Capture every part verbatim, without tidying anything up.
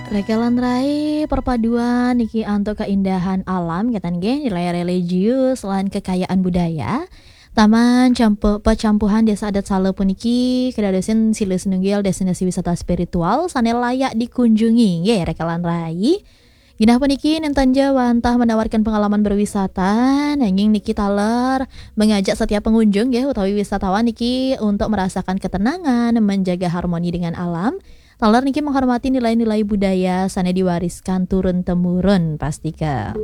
Rekelan rai perpaduan niki antuk keindahan alam, kenten nggih, nilai religius lan kekayaan budaya. Taman Campu-, Pecampuhan Desa Adat Sala puniki kedadosin silih sinunggil destinasi wisata spiritual sane layak dikunjungi, nggih, rekelan rai. Genah puniki nenten ja wantah menawarkan pengalaman berwisata, nanging niki taler mengajak setiap pengunjung, nggih, utawi wisatawan niki untuk merasakan ketenangan, menjaga harmoni dengan alam, taler niki menghormati nilai-nilai budaya sane diwariskan turun temurun, pastika.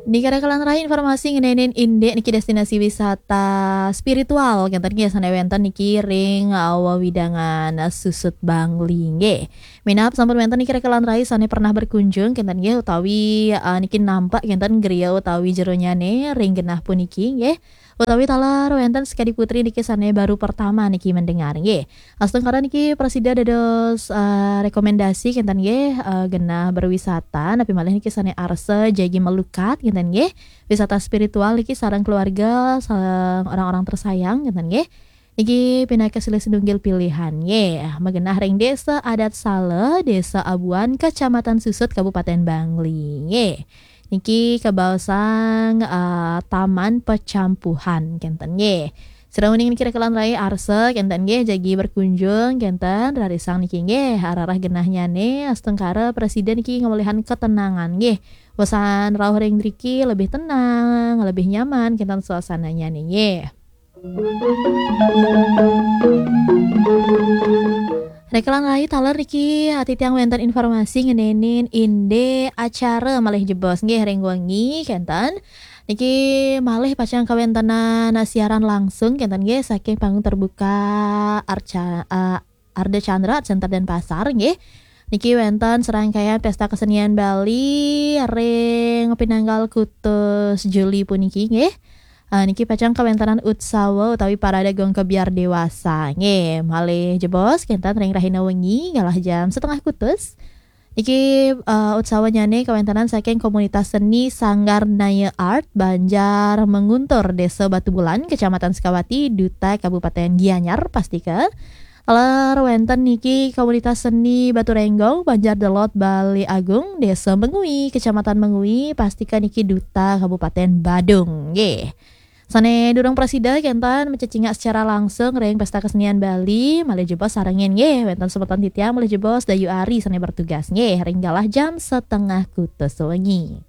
Niki rekelan rai informasi ngenenin indik niki destinasi wisata spiritual, kenten nggih, sane wenten niki ring, uh, wewidangan, uh, Susut Bangli nggih. Minab sampun wenten niki rekelan rai sane pernah berkunjung, kenten nggih, utawi, uh, niki nampak kenten griya utawi jeronyane ring genah puniki nggih. Utawi taler wenten sekadi putri niki sane baru pertama niki mendengar nggih. Astungkara niki prasida dados, eh, rekomendasi kenten nggih, eh, genah berwisata, napi malih niki sane arsa jagi melukat kenten nggih. Wisata spiritual niki sareng keluarga, sareng orang-orang tersayang kenten nggih. Niki pinaka silih sinunggil pilihan nggih. Magenah ring Desa Adat Sala, Desa Abuan, Kecamatan Susut, Kabupaten Bangli nggih. Niki kabaosang, eh, Taman Pecampuhan kenten nggih. Sira uning niki rekelan rai arsa kenten nggih, jagi berkunjung kenten, rarisang niki nggih, arah-arah genahnyane astungkara prasida niki ngamolihang ketenangan nggih. Wesan rauh ring driki lebih tenang, lebih nyaman kenten suasananyane nggih. Rekelan rai taler niki, ah, titiang wenten informasi ngenenin indik acara malih jebos nggih ring wengi kenten. Niki malih pacang kawentenan siaran langsung kenten nggih saking panggung terbuka Arca-, ah, Ardha Candra Art Center Denpasar nggih. Niki wenten serangkaian Pesta Kesenian Bali ring pinanggal kutus Juli puniki nggih. Ah, niki pacang kawentenan utsawa utawi parade gong kebyar dewasa nggih. Malih jebos kenten ring rahina wengi galah jam setengah kutus. Niki, eh, utsawanyane kawentenan saking komunitas seni Sanggar Naya Art Banjar Menguntur, Desa Batubulan, Kecamatan Sukawati, Duta, Kabupaten Gianyar, pastika. Taler wenten niki komunitas seni Batu Renggong, Banjar Delot, Bali Agung, Desa Mengwi, Kecamatan Mengwi, pastika niki Duta, Kabupaten Badung nggih. Sane durung prasida kenten macecingak secara langsung ring Pesta Kesenian Bali, malih jebos sarengin nggih, wenten semeton titiang malih jebos Dayu Ari sane bertugas nggih, ring galah jam setengah kutus wengi.